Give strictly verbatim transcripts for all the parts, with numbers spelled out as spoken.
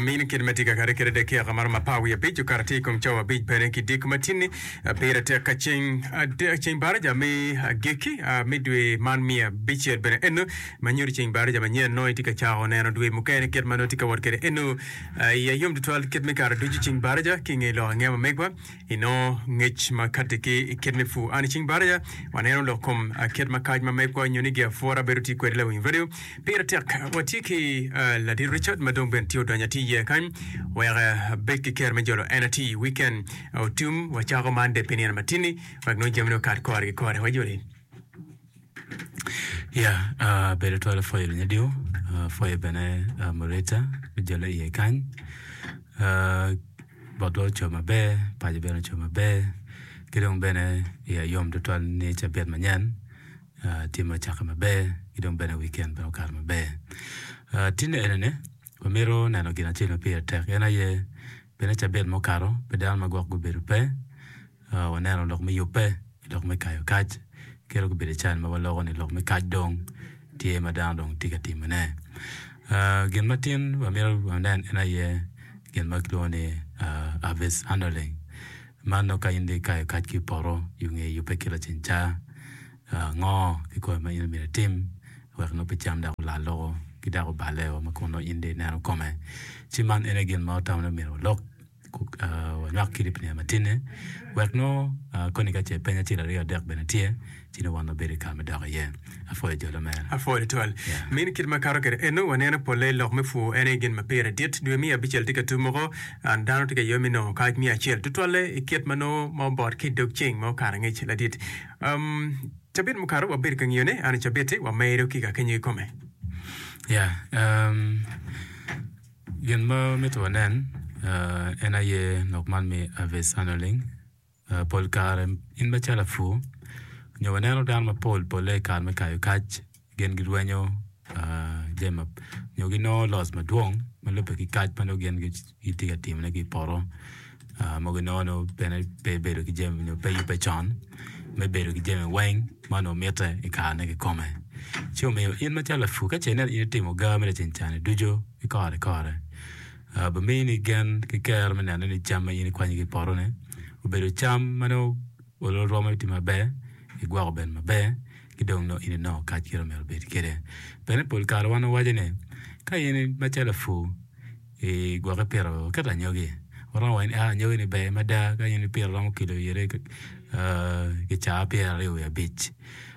Mini kit ma tye ka kare kwede dakika maromo apar wiye abic okato atir i kom cawa abic bene ki diko matinni pire tek ka ceng ceng baraja me agikki me dwe man miya abicel bene eno ma nyuto ceng baraja manyen nongo itye ka cako neno dwe mukene kit ma nongo tye ka wot kwede eno iya yom tutwal kit me kare ducu ceng baraja ki inge lok angeya ma megwa inongo ngec ma kati ki i kit me pur. An i ceng baraja waneno lok kom kit ma kac ma megwa nyo ni giapwora bedo tye kwede lawiny radio. Pire tek watye ki ladit Richard ma dong bene tye odonyo atir iye kany wek abed ki kero me jolo en atir i weekend otum wacako Monday pi nino matini wek nongo jamine okat kore ki kore. Wajoli. Ya, uh, bedo twal apwoyo lunyodio, uh, apwoyo bene uh, Mureta me jole iye kany. Uh, botwa oco maber, paco bene oco maber, ki dong bene iya yom tutwal ni cabit manyen uh, tye ma ocakke maber, ki dong bene weekend bene okato maber. Uh, tinne enini, wamito neno gin acel ma pire tek, en aye bene cabit mukato pi dano ma gwok gubedo pe, uh, waneno lok me yubbe, lok me kayo kac, kit gubedo can ma waloko ni lok me kac dong tye ma dano dong tye ka timone. Uh, gin ma tin wamito wanen en aye gin ma kilwongo ni uh, harvest handling. Man nongo ka in dong ikayo kac ki i poto i nge yubbe ki laceng ca, uh, ngo kikome ma in myero itim wek nongo pe cam dok olal loko ki dok oballeo ma kun nongo in dong ineno kome. Ci man en aye gin ma watamo ni myero walok uh, wanywak kidi pi nino matine wek nongo uh, koni ka ce peny acel aryo adek bene tye ci nongo wan wabedo i kare me dok iye. Apwoyo jolo mere. Apwoyo tutwal. Yeah. Mini kit ma kato kwede eno waneno polle lok me pur en aye gin ma pire dit. Dwe miya abicel tye ka tum woko and dano tye ka ywe me nongo kac miya acel tutwalle i kit ma nongo ma obot ki i dog ceng ma okato angec ladit. Um, cabit mukato wabedo ka ngiyone an i cabit-ti wamedo ki ka kenyo kikome. Yeah, um, gin ma mito wanen uh, en aye lok man me harvest handling. Uh, pol kare in macalo apur nyo waneno dano mapol polle i kare me kayo kac gin girwenyo uh, jami ma nyo ginongo loss madwong ma lubbe ki kac ma nongo gin gitye ka timone ki i poto uh, ma ginongo nongo bene pe bedo ki jami nyo pe yubbe con me bedo ki jami weng ma onongo mitte i karene kikome. Ci omiyo in macalo lapur ka ce ineno in itimo gar me laceng cani ducu ki kore kore uh, bimini gen ki kero me neno ni cam ma in ikwanyo ki i poto-ni obedo cam ma nongo olo romo tye maber, igwoko bene maber, ki dong nongo in inongo kac kit ma myero obed kwede. Bene pol kare wan wawaco ni ka in macalo lapur igwoko ipito keto anyogi, waromo waco ni ah anyogi ni ber mada ka in ipito romo kilo ire uh, kicaa pyeraryo wiye abic.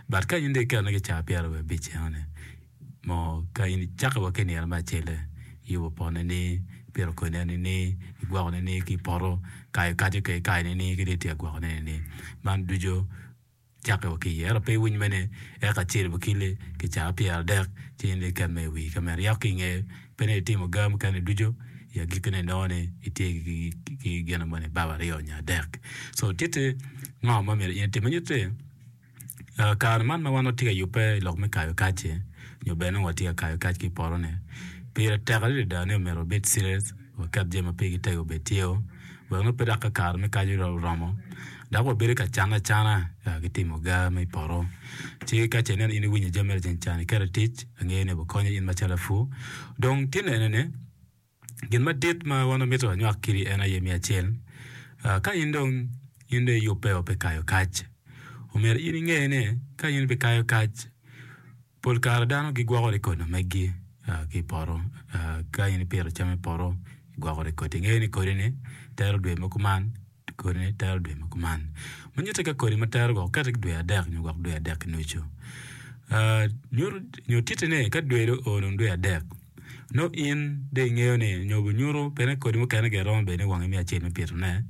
But ka in dong iketone kicaa pyeraryo wiye abic enoni mo ka in icako wa ki i nino me acelle iyubo potone ni, ipito kodine ni, igwokone ni ki i poto, kayo kaco ke ikayone ni ki dong itye ka gwokone ni. Man ducu cakke wa ki iye. Ento pe iwiny mene eka acel wa kili kicaa pyeradek ci in dong iket mere i wi ka mere. Yako ki inge pe ni itimo gar mukene ducu i agikkine inongo ni itye ki, ki gin mo ni baba aryo nyo adek. So tye ngo ma myero in itim ma nyutti Uh, kare man ma wan watye ka yubbe i lok me kayo kac-ci nyo bene nongo watye ka kayo kac ki i poto-ni, pire tek adada ni omyero wabed serious, waket jami ma pigi tego obed tye-o wek nongo pe dok ka kare me kac oromo dok wabedo ka canne acana uh, ki timo gar me i poto. Ci ka ce ineno in iwinyo jami me laceng can iketo i tic, angeyo ni obikonyo in macalo lapur. Dong tye nene ni gin madit ma wan wamito wanywak kidi en aye me acel, uh, ka in dong in dong iyubbe pi kayo kac, omyero in inge ni ka in ibikayo kac, pol kare dano gigwoko rekod ma meggi uh, ki i poto. Uh, ka in ipito cam i poto, igwoko rekod. Ingeyo ni kodi-ni tero dwe ma kuman, kodi-ni tero dwe ma kuman. Ma nyutte ka kodi ma tero gwok okete ki dwe adek nyo gwok dwe adek ki nucu. Uh, nyuto nyo titti ni ka dwe dong oo dong dwe adek, nongo in dong ingeyo ni nyo binyuto bene kodi mukene gire romo bedo ni wangi me acel me pitone,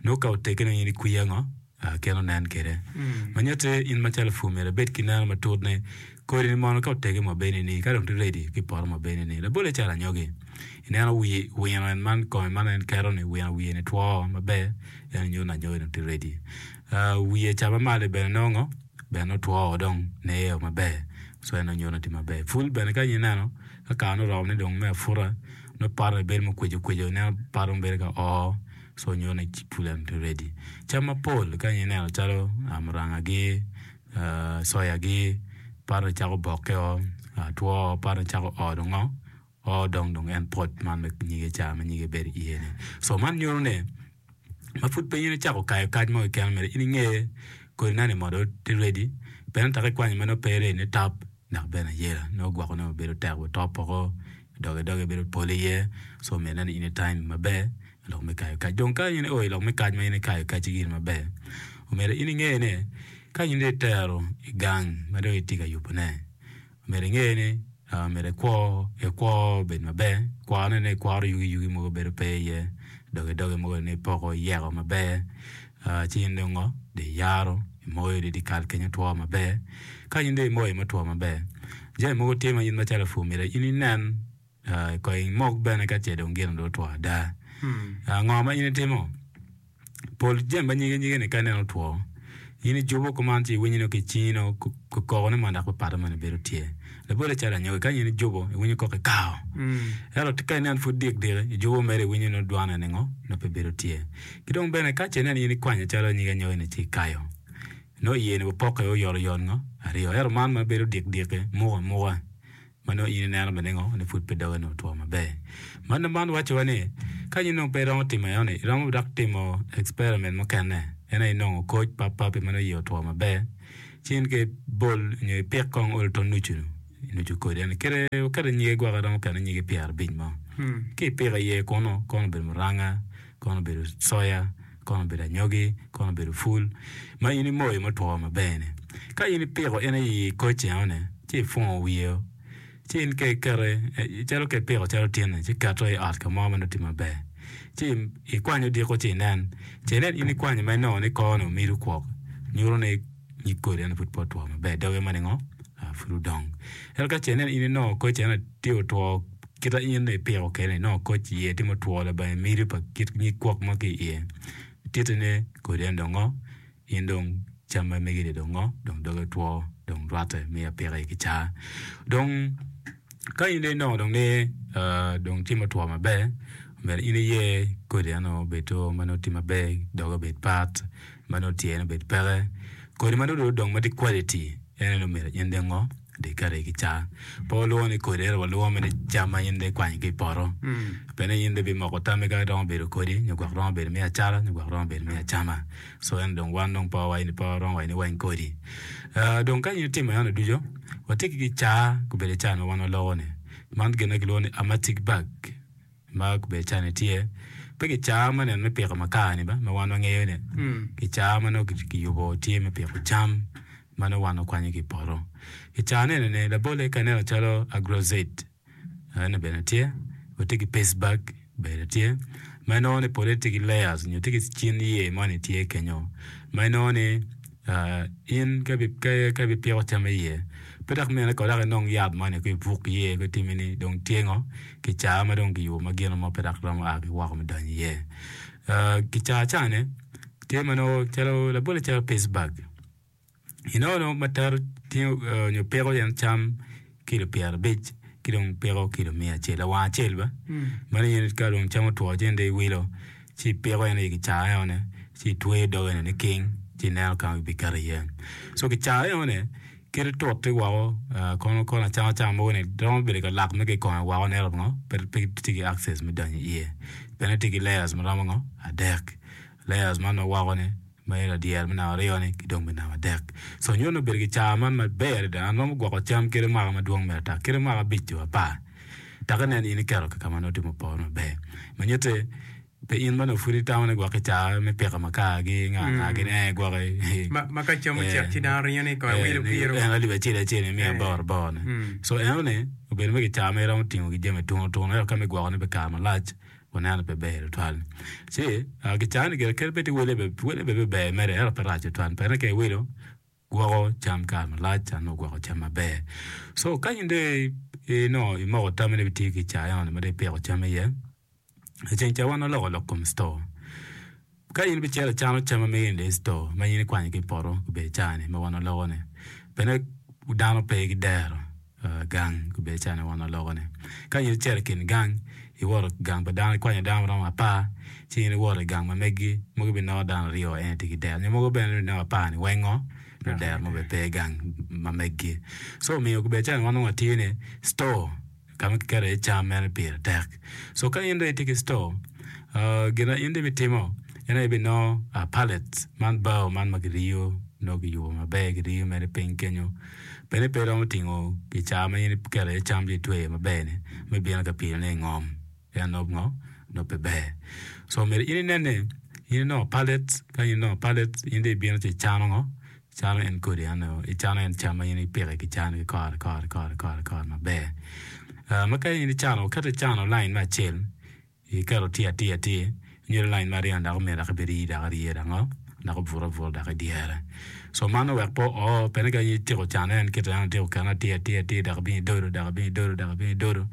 nongo ka oteggi nongo in ikwiya ngo uh, kit onen kwede. Ma nyutte in macalo lapur myero ibed ki neno matut ni kodi ni mono ka oteggi mo bene ni ka dong tye ready ki poto mo bene ni. Labolle calo anyogi, ineno wi wino en man kome man en keto ni wino wiye ni two maber en nyuto ni anyogi dong tye ready. Uh, wiye ca ma malo bene nongo bene otwo dong neo maber so en nyuto ni tye maber. Pul bene ka in ineno ka kare oromo ni dong me aputa nongo pote bedo mukweco kweco ineno pote bedo ka oo so nyuto ni pul eno tye ready. Cam mapol ka in ineno calo uh, murangagi, uh, soyagi, pote cako bokkeo, uh, two pote cako o dong ngo o dong dong en pot man me nyige ca ma nyige bedo iye-ni. So man nyuto ni ma pud pe in icako kayo kac mo keken myero in inge kodi nani modo tye ready pien tek ikwanyo ma nongo pe ready ni top dok bene ayela nongo gwoko ne bedo tek otop woko doge doge bedo pol iye so myero inen ni in i time maber i lok me kayo kac. Dong ka in io i lok me kac ma in ikayo kacci giri maber omyero in inge ni ka in dong itero i gang ma dong itye ka yubone myero inge ni myero ikwo ikwo obed maber kworone ni ikworo yugi yugi mogo bedo pe iye doge doge mogo ni ipoko iyeko maber ci in dong ngo dong iyaro imoyo dong dyekal kenyo otwo maber ka in dong imoyo ma otwo maber jami mogo tye ma in macalo lapur myero in inen kong imok bene ka ce dong gin dong otwo ada ngo ma in itimo pol jami ma nyige nyige ni ka ineno otwo in ijubo kuman ci iwinyo ki cingi nongo kokone mo dok papat moni bedo tye labolle calo anyogi ka in ijubo iwinyo koko ikao ento ka inen pud dik diki ijubo mere iwinyo nongo dwane ningo nongo pe bedo tye ki dong bene ka ce inen in ikwanyo calo nyig anyogi ni ci ikayo nongo iye ni opoke oyotoyot ngo aryo ento man ma bedo dik diki muko amuka ma nongo in ineno bene ngo ni pud pe doge nongo otwo maber. Man man wacowa ni ka in nongo pe iromo timo enoni iromo dok timo experiment mukene en aye inongo koc papap ma nongo iye otwo maber ci in ka ibol nyo ipik kong olo to nucu nucu kodi eni kite okete nyige gwok iromo kene nyige pyerabic mo ki ipiko iye kunu kono obedo muranga kono obedo soya kono obedo anyogi kono obedo pul ma in imoyo ma otwo maber ni ka in ipiko en i koc enoni ci ipungo wiye ci in ka ikete calo ka ipiko calo tyen-ni ci iketo i ot ka mo ma nongo tye maber ci ikwanyo odiko ci inen ce inen in ikwanyo ma inongo ni kore omido kwok nyuto ni nyig kodi eno pud pe otwo maber doge ma ningo pud odong ento ka ce inen in inongo koc eno tye otwo kita in dong ipiko kwede inongo koc iye tye mutwo labongo imido pa kit nyig kwok mo ki iye titi ni kodi eno dong ngo in dong cam ma megi-ni dong ngo dong doge otwo dong rwatte me apika i kicaa dong ka in dong inongo dong ni dong tye mutwo maber myero in iye kodi eno obed ma nongo tye maber doge obed pat ma nongo tyene obed peke kodi ma nongo dong odong ma tye quality en aye myero in dong ngo dong iketo i kicaa pe walwongo ni kodi ento walwongo mere cam ma in dong ikwanyo ki i poto pien in dong ibimoko tammi ka romo bedo kodi nyo gwok romo bedo me acata nyo gwok romo bedo me acama so en dong wan dong pe wawaco ni pe waromo waco ni weng kodi dong ka in itimo eno ducu watye ki kicaa obedo caa ma wan waloko ni man gin ma kilwongo ni hermetic bag ma obedo caa ni tye pe kicaa ma neno me piko makar ni ba ma wan wangeyo ni kicaa ma nongo kiyubo tye me piko cam ma nongo wan wakwanyo ki i poto kicaa ni eni labolle ka ineno calo agrozet eno bene tye watye ki paste bag bene tye ma inongo ni pole tye ki layers nyo tye ki cin iye moni tye kenyo ma inongo ni in ka ibipiko cam iye pe dok mine ko dok inong yat moni ko ibuk iye ko itimi ni dong tye ngo kicaa ma dong kiyubo ma gino mo pe dok romo a ki woko me donyo iye kicaa cani tye ma nongo calo labolle calo paste bag inongo ma tero tingo nyo piko en cam kilo pyerabic ki dong piko kilo miya acel lawang acel ba mano in ka dong cam otwo ci in dong iwilo ci ipiko en i kicaa enoni ci itweyo doge ni niking ci ineno ka ma ibiketo iye so kicaa enoni kite tut-ti woko kono kono acama cama mogo ni romo bedo ka lak me kikome woko ento ngo pe tye ki access me donyo iye bene tye ki layers ma romo ngo adek layers man ma woko ni ma ladyere me namba aryo ni ki dong me namba adek so nyuto ni obedo kicaa man maber adada an romo gwoko cam kede mwaka madwong mere ata kede mwaka abic nyo apar dok inen in iketo kaka ma nongo tye mupore maber ma nyutti pe in ma nongo pud itamo ni gwok kicaa me piko makar gi nga nga gini eh gwoki Ma ka cam ocek ci dano ringo ni kong awilo biro. En alip acel acel imiyo aboro aboro ni so enoni obedo me kicaa ma iromo tingo ki jami tunu tunu ento ka me gwokone pi kare malac waneno pe ber tutwal ci kicaa ni gire kadi bed wele wele bene ber mere ento pe rac tutwal pien ka iwilo gwoko cam kare malac nongo gwoko cam maber so ka in dong inongo imoko tammi ni ibitiyo ki kicaa enoni ma dong ipiko cam iye iceng ca wan waloko lok kom store ka in ibicito icano cam ma megi ni i store ma in ikwanyo ki i poto obedo caa-ni ma wan waloko ni bene dano pe ki dero gang obedo caa-ni ma wan waloko ni ka in icito i kin gang iwoto i gang pa dano ikwanyo dano maromo apar ci in iwoto i gang ma megi mogo ibinongo dano aryo en aye tye ki dero nyo mogo bene ibinongo apar ni weng ngo nongo dero mo bene pe i gang ma megi so omiyo obedo caa-ni wan nongo watye ni store Ka ma kiketo iye cam meno pire tek. So ka in dong itye ki store, gin ma in dong ibitimo en aye ibinongo pallet man bao man ma kiriyo nongo kiyubo maber kiriyo mere piny kenyo bene pe iromo tingo kicaa ma in iketo iye cam ci itweyo maber-ni me bino ka pilone i ngom pien nongo ngo nongo pe ber. So myero in inen ni in inongo pallet ka in inongo pallet in dong ibino ci icano ngo Icano en kodi eno, icano en cam ma in ipiko i kicani ki kore kore kore kore kore maber. Ma ka in icano, iketo icano lain me acel, iketo tye atir atir, nyo lain me aryo ni dok omyero dok ibed ii dok arye dok ngo, dok obuto abuta dok idyere. So man owek pe oo, pien ni ka in ityeko cano en kite eno ityeko ketone atir atir atir dok ibino idodo dok ibino idodo dok ibino idodo,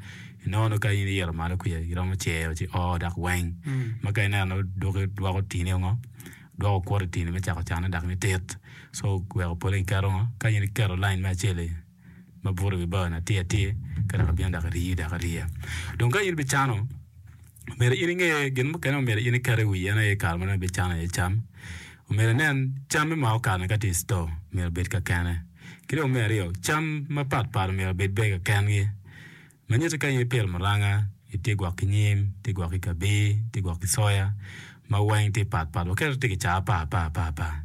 inongo nongo ka in iyito malo kwica iromo cero ci oo dok weng. Ma ka ineno dwoki dwoko tini ngo. Dwoko okwoto i tini me cako cane dok ni tit. So weko pole kiketo ngo? Ka in iketo lain me acel-li ma buto i wi bao ni atir atir, ka dok ibino dok iriyo dok ariya. Dong ka in ibicano, myero in inge gin mukene ma myero in iket i wi en aye kare ma dong ibicano iye cam. Omyero inen cam me mwaka okato-ni ka tye i store myero obed kakene. Ki dong me aryo, cam mapat pat myero obed bene kakengi. Ma nyuto ka in ipito muranga, itye gwok ki nyim, itye gwok ki kabir, itye gwok ki soya, ma weng tye pat pat. Waketo tye kicaa apar apar apar apar.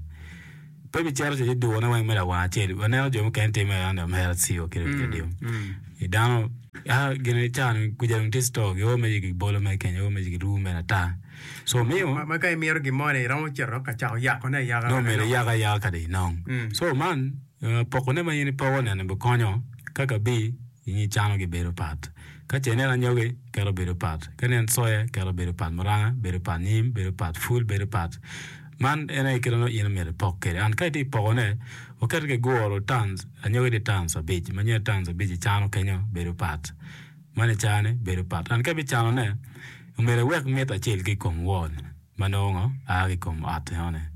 Pe bicito ci idurone weng me lawang acel. Waneno jo mukene timo eno ni omera ciwa kede mm, radio. Mm. I dano a gin icano kuja dong tye store gio me gibolo me kenyo me giru me ata. So miyo ma, ma ka imito gin mo ni iromo cito ka cako yakone ayaka. No myero iyaka ayaka kadi inong. Mm. So man uh, pokone ma in ipoko nene bikonyo ka kabi Inge cano gibedo pat. Ka ce inen anyogi, keto bedo pat. Ka inen soya, keto bedo pat. Muranga bedo pat. Nyim bedo pat. Pul bedo pat. Man en aye kit ma nongo in omyero ipok kwede. And ka itye ka pokone, waketo ki guro tons, anyogi tye tons abic. Ma nyo tons abic icano kenyo bedo pat. Man icane bedo pat. And ka ibicanone, omyero iwek mit acel ki i kom wall ma nongo ngo a ki i kom ot enoni.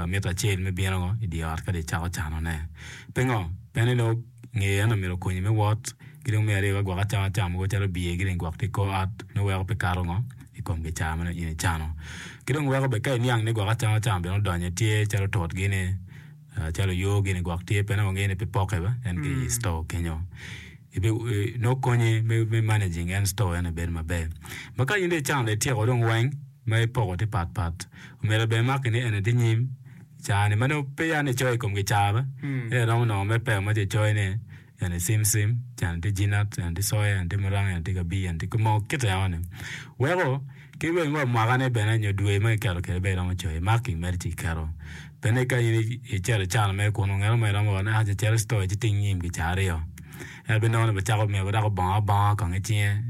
Mito acel me bino i dye ot ka dong icako canone. Pingo? Pien ni nongo ngeye eno myero okonyi me wot, ki dong me aryo ka gwok acama cam mogo calo biye gini gwok tye i kor ot nongo weko pe kato ngo i kom kicaa ma nongo in icano. Ki dong weko bene ka iniang ni gwok acama cam bene odonyo tye calo tut gini, calo oyo gini gwok tye pien nongo wangeyo ni pe poke ba en ki i store kenyo. Nongo konyi me managing en store eno bedo maber. Ma ka in dong icano dong ityeko dong weng ma ipoko tye pat pat omyero bene imaki ni eni tye nyim caa ni ma nongo pe ya ni icoyo i kom kicaa ba ento iromo nongo me peko ma tye icoyo ni eni cim cim ca ni tye jinat eni tye soya eni tye muranga eni tye kabir eni tye moo kite eno ni weko ki bene wa mwaka ne bene nyo dwe ma kiketo kwede bene iromo coyo marking mere ci iketo bene ka in icito icano mere kunu ngat mo iromo waco ni aa cit i store ci ting nyim kicaa aryo ento ibinongo ni bicako myero dok obongo abonga kong i cinge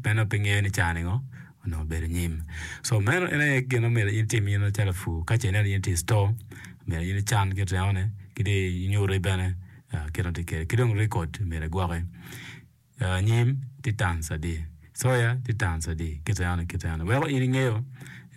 pe nongo pe ngeyo ni caa ni ngo onongo obedo nyim. So meno en aye gin ma myero in itim in macalo lapur. Ka ce ineno in itye i store, myero in ican kit remone ki dong inyuti bene kit ma tye kwede. Ki dong record myero igwoki. Nyim tye tons adi, soya tye tons adi, kit remone kit remone. Weko in ingeyo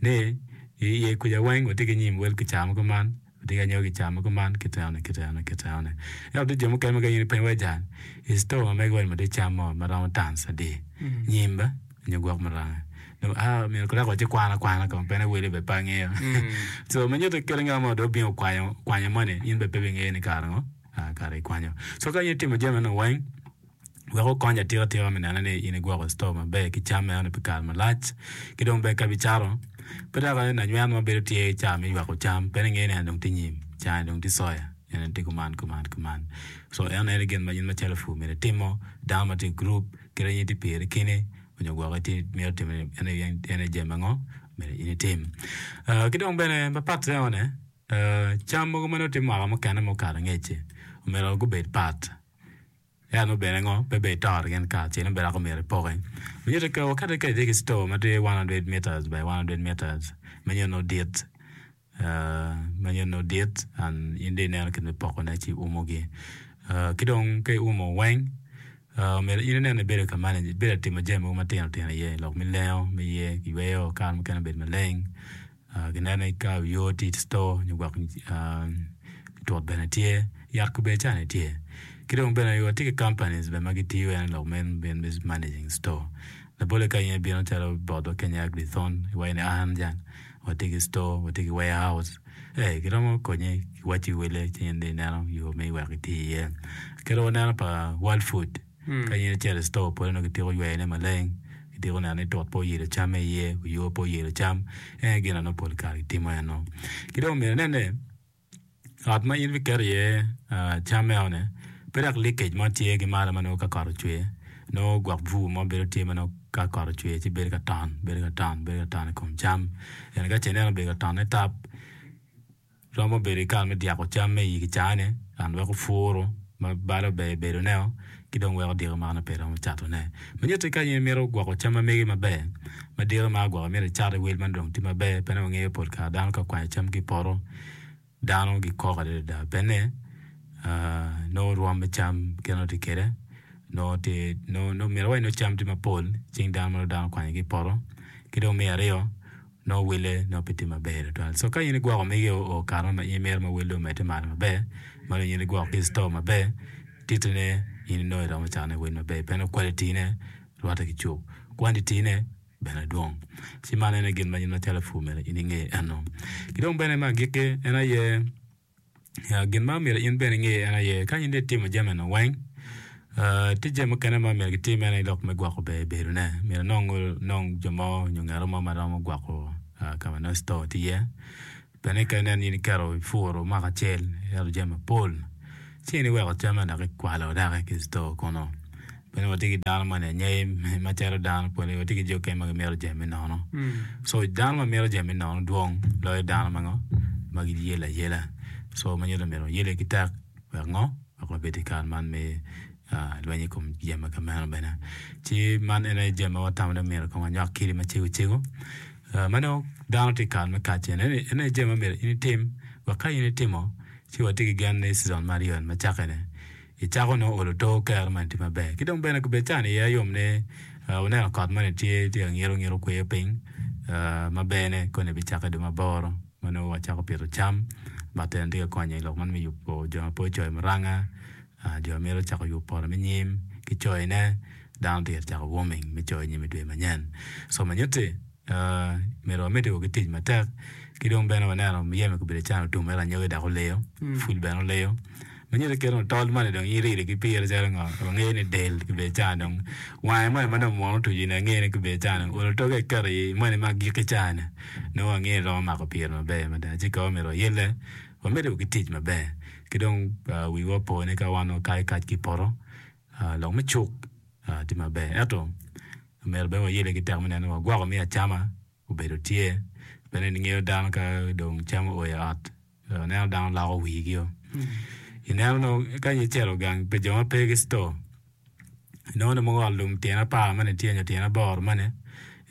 ni iye kuca weng watye ki nyim wel kicaa ma kuman. Watye ki anyogi ca ma kuman ki teno ki teno ki teno. Ento tye jo mukene ma ka in ipenyo wa jal i store ma mege wa ni tye cam mo ma romo tons adi nyim ba nyo gwok muranga dong a myero kong dok waci kwan akwana kong pien wele bene pe angeyo so ma nyuto kit ngat mo dong obino okwanyo kwanyo moni in bene pe ibingeyo ni kare ngo kare ikwanyo so ka in itimo jami meno weng Wek okony atika tika me neno ni in igwoko store maber ki cam meno pi kare malac. Ki dong bene ka ibicato, pe dok lanywen mo bedo tye ca me yweko cam pien ingeyo ni en dong tye nyim, ca-ni dong tye soya, en tye kuman kuman kuman. So en aye gin ma in macalo lapur myero itimo, dano ma tye i gurup kit ma in itye piri keni onyo gwok itye imito timo en aye jami ango myero in itim. Ki dong bene mapat ene cam mogo ma nongo tye mwaka mukene ma okato angec-ci omyero gubed pat. Ento nongo bene ngo pe ber itoro gin kacel nongo bene dok omyero ipoki. Ma nyuto ka wakete ka itye ki store ma tye one hundred meters by one hundred meters ma nyuto nongo dit ma nyuto nongo dit and in dong ineno kit me pokone ci iumogi. Ki dong ka iumo weng myero in inen ni ibedo ka manage ibedo ka timo jami mogo matino tino iye lok me lengo me iye kiyweyo kare mukene obedo maleng. Gineno ni ka yo tye i store nyo gwok tut bene tye, yat kobedi cani tye. Ki dong bene watye ki companies bene ma gitiyo en lok me managing store. Labolle ka in ibino calo botwa keny i Agrithon iwaco ni an jang watye ki store, watye ki warehouse, ee giromo konyi giwacci wele ci in dong ineno yo me wek iti iye. Kit ma waneno pa World Food. Ka in icito i store pole nongo kitiko yweyone maleng, kitiko neno ni tut pe oyelo cam iye, oyo pe oyelo cam. En aye gin ma nongo pol kare kitimo eno. Ki dong myero inen ni ot ma in ibiketo iye cam enoni pe dok leakage mo tye ki malo ma nongo ka kot ocwer nongo gwok bur mo bedo tye ma nongo ka kot ocwer ci bedo ka ton bedo ka ton bedo ka ton i kom cam. Ento ka ce ineno obedo ka tonne tap romo bedo ki kare me dyako cam me i kicane and weko puru ma balo ber bedoneo ki dong weko diko man pe romo catone. Ma nyutti ka in imito gwoko cam ma megi maber ma diko ma gwoko imito icat i wel ma dong tye maber pe nongo ingeyo pol kare dano ka okwanyo cam ki i poto dano gikok adada pene nongo rwom me cam kit ma nongo tye kwede nongo tye nongo myero iwac nongo cam tye mapol cing dano ma nongo dano okwanyo ki i poto ki dong me aryo nongo wele nongo pe tye maber tutwal. So ka in igwoko megi oo kare mo ma in imito ma wele omedde malo maber ma dong in igwoko ki i store maber titine in inongo iromo catone wel maber pien nongo quality ne rwatte ki cuk quantity ne bene dwong. Ci man en aye gin ma in macalo lapur myero in inge eno. Ki dong bene me agikki en aye gin ma myero in bene inge en aye ka in dong itimo jami eni weng tye jami mukene ma myero kitim en aye lok me gwoko ber bedone myero inong jo mo nyo ngat mo ma romo gwoko ka ma nongo store tye iye bene ka inen in iketo ipuro mwaka acel iketo jami mapol ci in iweko camme dok ikwalo doki ki i store kunu pien watye ki dano moni anyai macalo dano pol watye ki jo mukene ma gimito jami me nono so dano ma mito jami me nono dwong loyo dano ma ngo ma giyelo ayela so ma nyuto ni myero wayelle ki tek wek ngo wek wabed i kare man me lweny i kom jami ma kameno bene ci man en aye jami ma watamo ni myero kong wanywak kidi macego cego ma nongo dano tye i kare me kac eni en aye jami ma myero in itim wek ka in itimo ci watye ki gen ni season me aryo ni ma cakke-ni icako nongo olo to kero moni tye maber ki dong bene kubed cani iye yom ni wuneno kot moni tye tye ka ngito ngito kweyo piny maberne koni bicakke dwe maboro ma nongo wacako pito cam but en tye ka konyo i lok man me yubo jo ma pe ocoyo muranga jo ma mito cako yubo poto me nyim ki coyone dano tye ka cako warming me coyo nyim i dwe manyen so ma nyutti myero wamedde ki tic matek ki dong bene waneno muyeme obedo calo otum ento anyogi dok oleyo pul bene oleyo ma nyuto kit otol moni dong in irido ki pire calo ngo wangeyo ni del kibedo calo dong wange moni ma dong munu otuco ni angeyo ni kibedo calo dong olo toke iketo i moni ma agikki cani nongo wangeyo ni romo mako pire maber mada ci ka myero wayelle wamedde ki tic maber ki dong wiwa opo ni ka wan wakayo kac ki i poto lok me cuk tye maber ento myero bene wayelle ki tek me neno ni wagwoko me acama obedo tye bene ingeyo dano ka dong cam oo i ot ineno dano loko wigio ineno nongo ka in icito gang pi jo ma pe ki store inongo ni mogo ot lum tyen apar moni tye nyo tyen aboro moni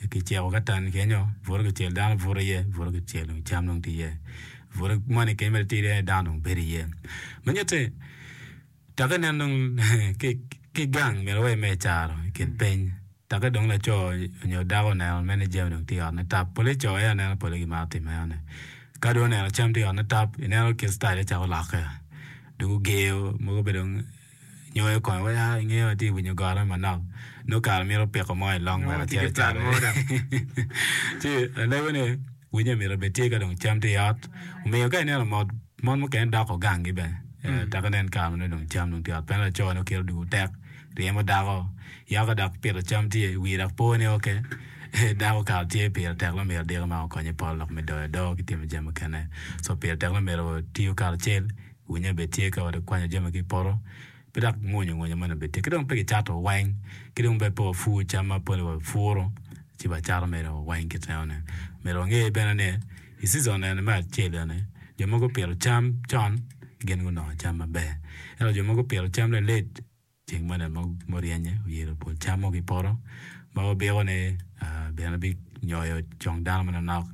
kiceko katan kenyo buto kicel dano buto iye buto kicel dong cam dong tye iye buto moni kenyo mere tye iye dano dong bedo iye ma nyutti dok ineno dong ki gang myero wa ime caro i kin piny dok dong laco nyo dako oneno mere ni jami dong tye i ot ni tap pole co aye aneno pole gimaro timo enoni ka dong oneno cam tye i ot ni tap ineno kit citale cako lokke dong ogeyo mogo bene dong nyoyo kome wai aa ingeyo atye ka winyo goro manok nongo kare mito piko mo i long wek acit acat ci alego ni winyo myero obed tye ka dong cam tye i ot omiyo ka ineno mot mon mukene doko ganggi bene dok inen kare ma nongo dong cam dong tye i ot pien laco nongo kite odwogo tek ryemo dako yako dok pito cam tye wiye dok po ni ok dako kare tye pire tek nongo myero diko ma okonye poto lok me doyo adoo ki timo jami mukene so pire tek nongo myero tiyo karacel winyo bene tye ka kwanyo jami ki i poto pe dok mwonyo mwonyo moni bene tye ki dong pe kicato weng ki dong bene pe wapur cam ma pole wapuro ci wacato mere weng kit enoni myero wange bene ni i season eni me acel eni jo mogo gupito cam con gin gunongo cam maber ento jo mogo gupito cam lalet ceng moni muryenye oyelo pol cam mogo i poto ma wabiko ni bene binyoyo cong dano manonok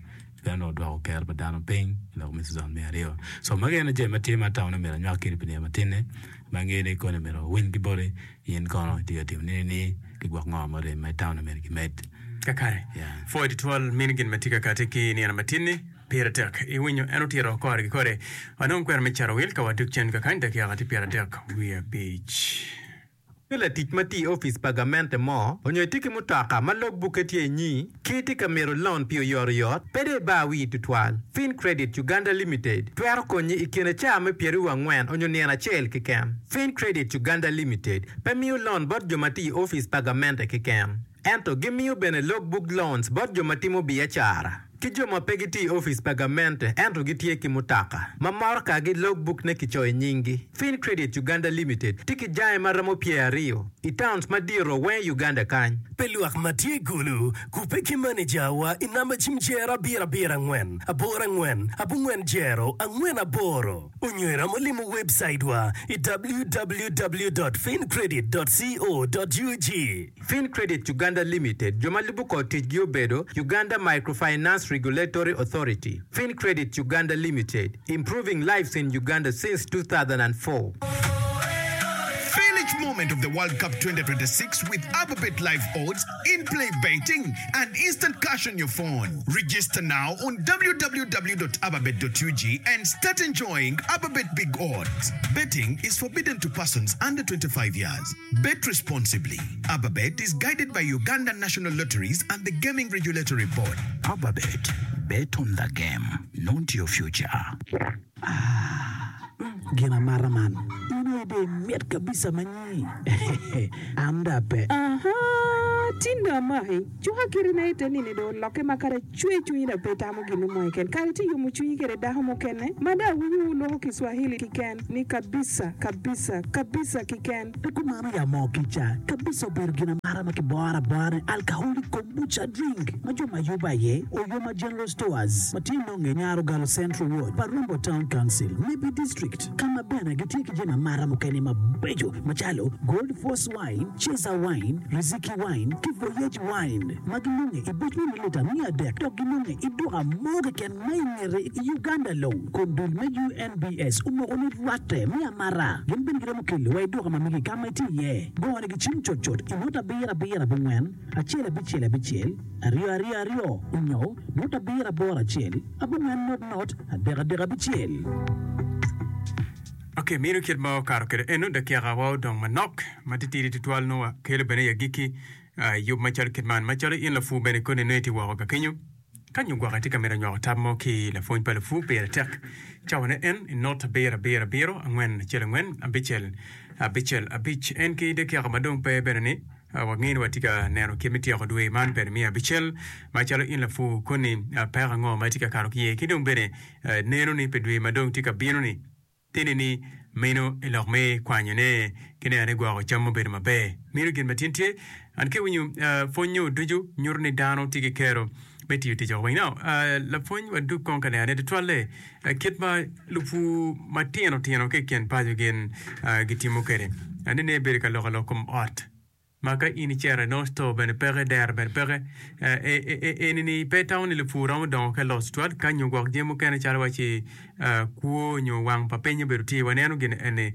bene dong odwoko kero pa dano piny i lok me season me aryo so magi ene jami ma tye ma atamo ni myero anywak kwedi pi nino matin-ni ma angeyo ni koni myero wawiny ki boti in kono itye ka timo nini ni ki gwok ngo murem ma itamo ni myero kimed. Kakare, Yeah. pwoyo tutwal mini gin ma tye ka kati ki nino matin-ni pire tek. Iwinyo en otito kore ki kore. Wanong kwena me caro wil ka wadok cen kakany dakika tye pyeradek wiye abic. Ki latic ma tye i opic pa gamente mo onyo itye ki mutoka ma logbukke tye inyi ki itye ka mito lon pi oyotoyot, pe dong ibar wii tutwal. Fincredit Uganda Limited twero konyi i kine caa me pyeraryo angwen onyo nino acel keken. Fincredit Uganda Limited pe miyo lon bot jo ma tye i opic pa gamente keken, ento gimiyo bene logbook loans bot jo ma timo biacara ki jo ma pe gitye i opic pa gamente ento gitye ki mutoka ma morokagi logbook ne kicoyo i nyinggi. Fincredit Uganda Limited tye ki jange ma romo pyeraryo i towns madito weng i Uganda kany. Pi lwak ma tye i Gulu, kubbe ki manejawa i namba cim jero abiro abiro angwen aboro angwen abongwen jero angwen aboro onyo iromo limo webcaitwa i www dot fincredit dot co dot ug. Fincredit Uganda Limited jo ma lubo kor ticgi obedo Uganda Microfinance Regulatory Authority, Fincredit Uganda Limited, improving lives in Uganda since two thousand and four. Feel each moment of the World Cup twenty twenty-six with Ababet Live Odds, in-play betting, and instant cash on your phone. Register now on w w w dot ababet dot u g and start enjoying Ababet Big Odds. Betting is forbidden to persons under twenty-five years. Bet responsibly. Ababet is guided by Uganda National Lotteries and the Gaming Regulatory Board. Ababet, bet on the game, not your future. Gin amata man in aye dong imit kabisa manyi an dong ape. Aha, tinda amaki cuka kirina ite nini dong olokke ma kadi cwer cwinyi dong pe itamo gin mo keken kadi tye yomo cwinyi kede dako mukene ma dong awinyo wuloko Kiswahili kiken ni kabisa kabisa kabisa kiken. Pe kumano ya moo kica kabisa obedo gin amata ma kiboro abora ni alcoholic kombucha drink ma jo ma yubo aye Oyoma General Stores ma tye nonge Nyarogalo Central Ward pa Rombo Town Council, Nebbi District, ka ma bene gitye ki jami amata mukene mabeco macalo Gold Force Wine, Chaser Wine, Riziki Wine ki Voyage Wine ma ginonge i buc me mililita miya adek dok ginonge i duka mo keken ma i ngete i Uganda long kun dul me U N B S omoko ni rwatte me amata gin bene giromo kelo wa i duka ma megi ka ma itye iye. Gonegi cim cutcut i not abiro abiro abongwen acel abicel abicel aryo aryo aryo onyo not abiro aboro acel abongwen not not adek adek abicel. Ok, mino kit ma okato kwede eno dakika wa odong manok ma titidi tutwal nongo wakelo bene i agikki uh, yub macalo kit man macalo in lapur bene koni nongo itye woko ka kenyo ka nyo gwok itye ka mito nywako tam mo ki lapwony pa lapur pire tek cawane en i not abiro abiro abiro angwen acel angwen abicel abicel abic en ki dakika ma dong pe bene ni uh, wangeyo ni watye ka neno kit me tyeko dwe man bene miya abicel macalo in lapur koni uh, peko ango ma itye ka kato ki iye ki dong bene uh, neno ni pi dwe ma dong tye ka bino ni tini ni meno i lok me kwanyone ki neno ni gwoko cam obedo maber meno gin ma tin tye an ki winyo uh, pwonyo ducu nyuto ni dano tye ki kero me tiyo tic weng now uh, lapwony wadug kong ka neno ne tutwalle uh, kit ma lupur matino tino ki i kin paco gin uh, gitimo kwede anene bedo ka loko lok kom ot ma ka in icito inongo store bene peke dero bene peke eni ni pe itamo ni lupur romo dongo ka los tutwal ka nyo gwok jami mukene calo waci kwo nyo wang pa piny obedo tye waneno gin eni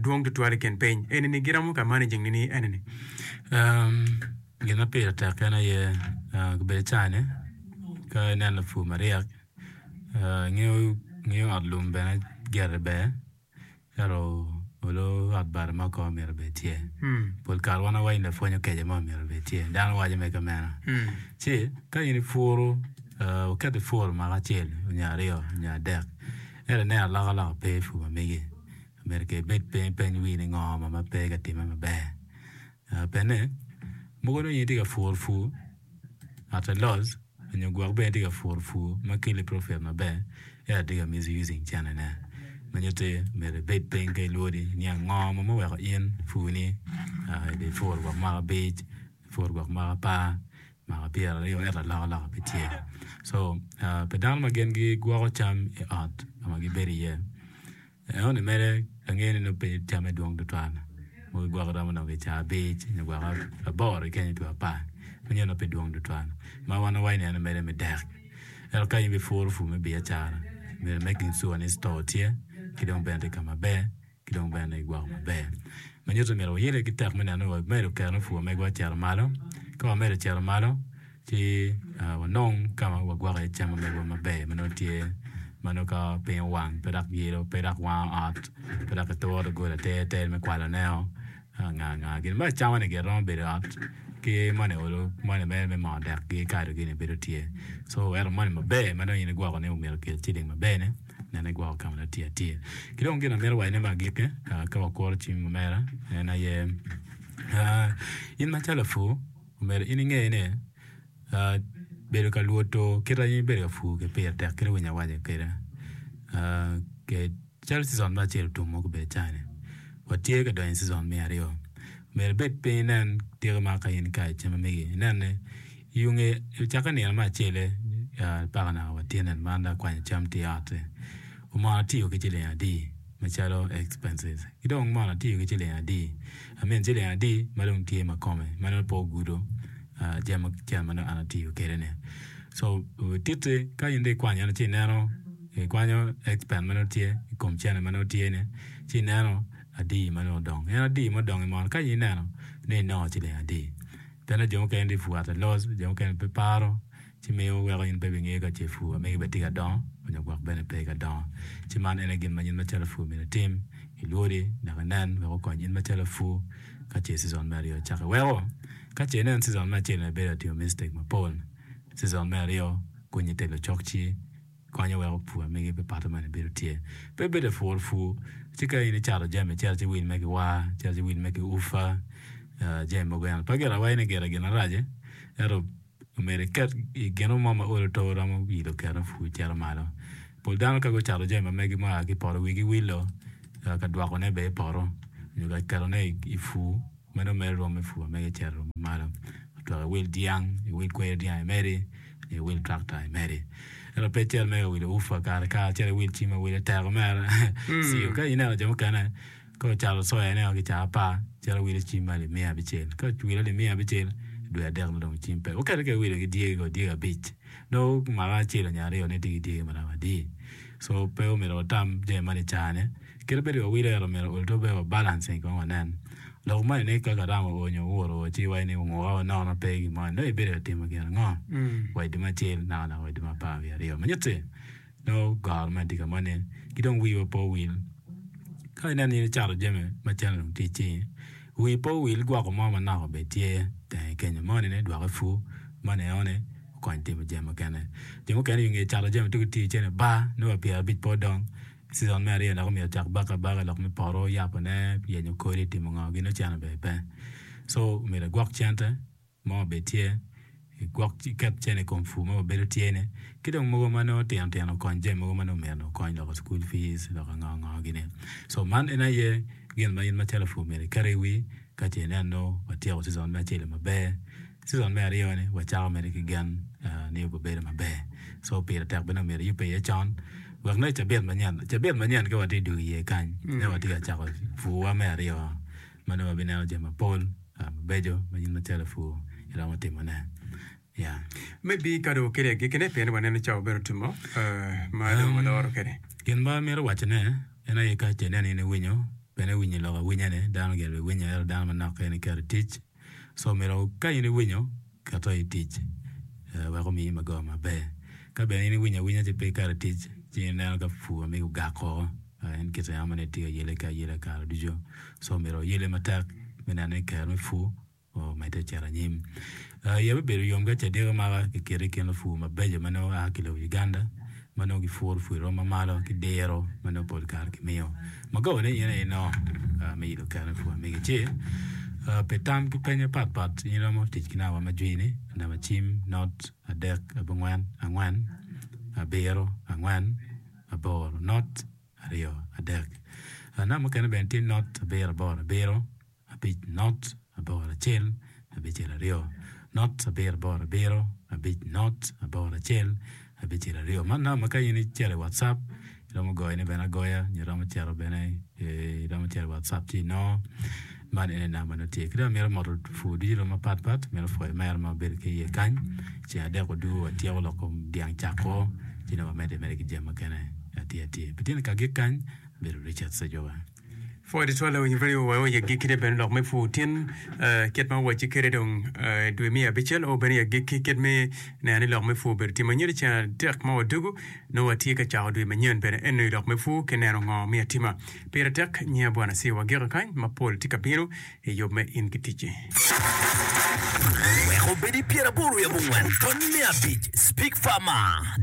dwong tutwal i kin piny eni ni giromo ka managing ni eni ni Um, gin ma pire tek en aye uh, kabedo cani ka ineno lapur maryek uh, ngeyo ngeyo ot lum bene gire ber ento olo ot bati mo ko myero obed tye. Hmm. Pol kare wan wawaco ni lapwony okeco mo myero obed tye dano waco mere ka meno. Hmm. Ci ka in ipuro uh, oketo ipuro mwaka acel nyo aryo nyo adek ento ineno alokaloka pe i pur ma megi myero ke ibed piny ipeny wii ni ngo ma pe ka timme maber. Uh, pene mogo nongo in itye ka puro pur at a loss nyo gwok bene itye ka puro pur ma keli profit maber ento itye ka misusing centene ma nyutti myero ibed piny ka ilwodi niang ngo ma oweko in pur-ni uh, ipuro gwok mwaka abic ipuro gwok mwaka apar mwaka pyeraryo ento alokaloka pe tye. So uh, pi dano ma gin gigwoko cam i ot ka ma gibedo iye enoni mere angeyo ni nongo pe camme dwong tutwal mogo gwoko romo nongo ki caa abic nyo gwoko aboro keken two apar manyo nongo pe dwong tutwal ma wan wawaco ni en mere me dek ento ka in ibipuro pur me biacara myero making sure ni store tye ki dong bene tye ka maber ki dong bene igwoko maber ma nyuto myero wayelle ki tek me neno ni wamedo kero me pur megwa cito malo ka wamedo cito malo ci uh, wanong ka ma wagwoko iye cam megwa maber ma nongo tye ma nongo ka piny owang pe dok yelo pe dok wango ot pe dok ituro doggola ter ter me kwaloneo. Nga nga gin me acama ni giromo bedo i ot ki moni olo moni mere me moo dek gi kado gini bedo tye. So ento moni maber ma dong in igwoko ni omyero okel ciling maber ni nene igwoko ka ma nongo tye atir. Ki dong gin amito waco ne me agikki ka wakuro cim omera en aye in macalo lapur omyero in inge ni bedo ka lwoto kit ma in ibedo ka pur kwede pire tek kit ma winyo awaco kwede. Calo cizon me acel otum ma gubedo cani, watye ka donyo i cizon me aryo. Myero ibed piny inen tiko ma ka in ikayo cam ma megi, inen ni i nge ocakke nino me acel-le paka naka watye nen man dong akwanyo cam tye i ot-ti. Mono atiyo ki ciling adi macalo expenses ki dong mono atiyo ki ciling adi I mean ciling adi ma dong tye ma kome ma nongo pe ogudo jami ma nongo an atiyo kwede-ni. So titti ka in dong ikwanyo eno ci ineno ikwanyo expen ma nongo tye i kom cene ma nongo tye ni ci ineno adi ma nongo odong. En adi ma odong i mono ka in ineno ni inongo ciling adi. Pien jo mukene tye pur at a loss, jo mukene pe paro ci miyo weko in pe ibingeyo ka ce pur ma megi bene tye ka dongo nyo gwok bene pe ka dongo. Ci man en aye gin ma in macalo lapur myero itim, ilwodi dok inen wek okony in macalo lapur ka ce cizon me aryo ocakke. Weko ka ce inen cizon me acel ni ibedo ka timo mistake mapol, cizon me aryo konyi telo cok ci konyo weko pur megi pe pato meno bedo tye. Pe bedo apur pur ci ka in icato jami icito ci wil me ki war, icito ci wil me ki ufa jami mogo eno. Pe gire awaci ni gire gin marac ento omyero iket i gin mo ma olo to romo yilo keno pur cito malo. Pol dano ka gucato jami ma megi mua ki i poto wigi wilo ka dwokone bene i poto nyo ka ketone i pur ma nongo mere rwom me pur ma mege cito rwom malo. Otwero iwil dyang, iwil kwer dyang imedi nyo iwil tractor imedi. Ento pe icito mere ka wilo ufa kare kare icito iwil cim awila teko mere ciyo. Ka ineno jo mukene ka ocato soya ne ki caa apar cito wilo cim ma alip miya abicel. Ka owilo alip miya abicel dwe adek nongo dong cim pe. Okete ka iwilo ki dyegi ko dyegi abic nongo mwaka acel nyo aryo nongo itye ki dyegi maromo adi. So pe omyero watam jami man i caa-ni. Kit bedo wawilo ento omyero ol to be wa balancing kong wanen. Lok moni ni ka karam oo nyo owur oo ci iwaco ni onguka o nono pe gin mo nongo ibedo ka timo gin ango wa i dwe me acel naka naka wa i dwe me apar wiye aryo. Ma nyutti nongo goro moni tye ka moni ki dong wiwa pe owil. Ka ineno in icato jami ma cene dong tye i cingi, wi pe owil gwoko mo manok obed tye tenge kenyo moni ni dwoko i pur moni enoni okony timo jami mukene. Jo mukene i nge cato jami ci gitiyo cene bar nongo wa pyerabic pe odong. Cizon me aryo dok omyero ocak bako abaka lok me poto yapone yenyo kodi timo ngo gin oceno bene pe. So omyero igwok cente mo obed tye igwok iket cene i kom pur ma wabedo tye ni ki dong mogo ma nongo tino tino okony jami mogo ma nongo myero okony loko school fees loko ngo ngo gini. So man en aye gin ma in macalo lapur myero iket i wi ka ce inen nongo watyeko cizon me acel maber. Cizon me aryo ni wacako mere ki gen ni obibedo maber. So pire tek bene omyero iyubbe iye con wek nongo i cabit manyen cabit manyen ka watye dwogo iye kany nongo watye ka cako purwa me aryo ma nongo wabineno jami mapol mabeco ma in macalo lapur iromo timone. Yeah. Maybe ka dong okele agikkine pien waneno cawa bene otumo ma dong waloro kwede. Gin ma amito wacone en aye ka ce ineno in iwinyo bene iwinyo lok awinya-ni dano gire biwinyo ento dano manok keken iketo i tic. So myero ka in iwinyo keto i tic wek omiyi magoba maber. Ka bene in iwinyo awinya ci pe iketo i tic ci ineno ka pur ma megi ogak woko en kite ma nongo itye ka yele ki ayela kare ducu. So myero wayele matek me neno ni kero me pur omedde ocito anyim. Iya bibedo yom ka ce diko maka kiketo i kin lupur mabeco ma nongo a ki lobo Uganda ma nongo gipuro pur i rwom mamalo ki diro ma nongo pol kare kimiyo. Magoba ni in aye inongo me yilo kero me pur ma megi ci pi tam ki peny mapat pat in iromo tic ki namba ma jwini namba cim not adek abongwen angwen abiro angwen aboro not aryo adek. Namba mukene bene tye not abiro aboro abiro abic not aboro acel abicel aryo not abiro aboro abiro abic not aboro acel abicel aryo. Man namba ma ka in icito i WhatsApp iromo goyone bene agoya nyo iromo cito bene iromo cito i WhatsApp ci inongo man ene namba nongo tye. Ki dong amito moto pur ducu dong mapat pat mito pwoyo mere ma wabedo ki iye kany ceng adek odugo watyeko lok kom dyang cako ci dong wamedde mere ki jami mukene atir atir. Pi tyen ka agik kany abedo Richard Sejoba. Pwod twal awinyo radio wa oye agikki ne bene lok me pur tin eh, kit ma wacci kede dong eh, dwe me abicel o bene i agikki kit me neno ni lok me pur obedo tye manyien i ceng adek ma wadugu nongo watye ka cako dwe manyen bene eno i lok me pur ki neno ngo me atima. Pire tek nyinga Bwana Siwa wagiko kany ma pol tye ka bino i yub me in ki ticci. Wek obed i pyeraboro wiye abongwen tony me abic Speak Farmer.